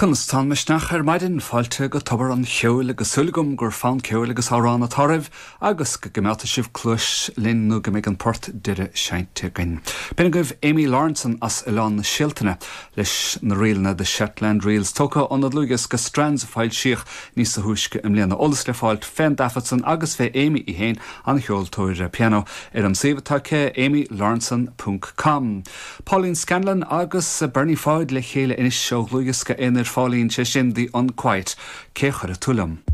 Conas tá an misneach ar maidin? Fáilte go Tobar an Cheoil agus súil agam gur fonn ceoil agus amhrán atá oraibh agus go gcoimeádfaidh sibh cluais linn nó go mbeidh an port deiridh seinnte againn. B'in agaibh Amy Lawrenson as Oileán na Sealtaine leis na ríleanna The Shetland Reels tógtha óna dlúthdhiosca Strands a foilsíodh níosa thúisce i mbliana. Eolas le fáilt fén dtaifead san agus fé Amy í féin, an-cheoltóir pianó, ar an suíomh atá aici, amylawrenson ponc com. Pauline Scanlon agus Bernie Pháid le chéile anois ó dhlúthdhiosca aonair Pháilín, sé sin The Unquiet, Cé Chuirfidh Tú Liom?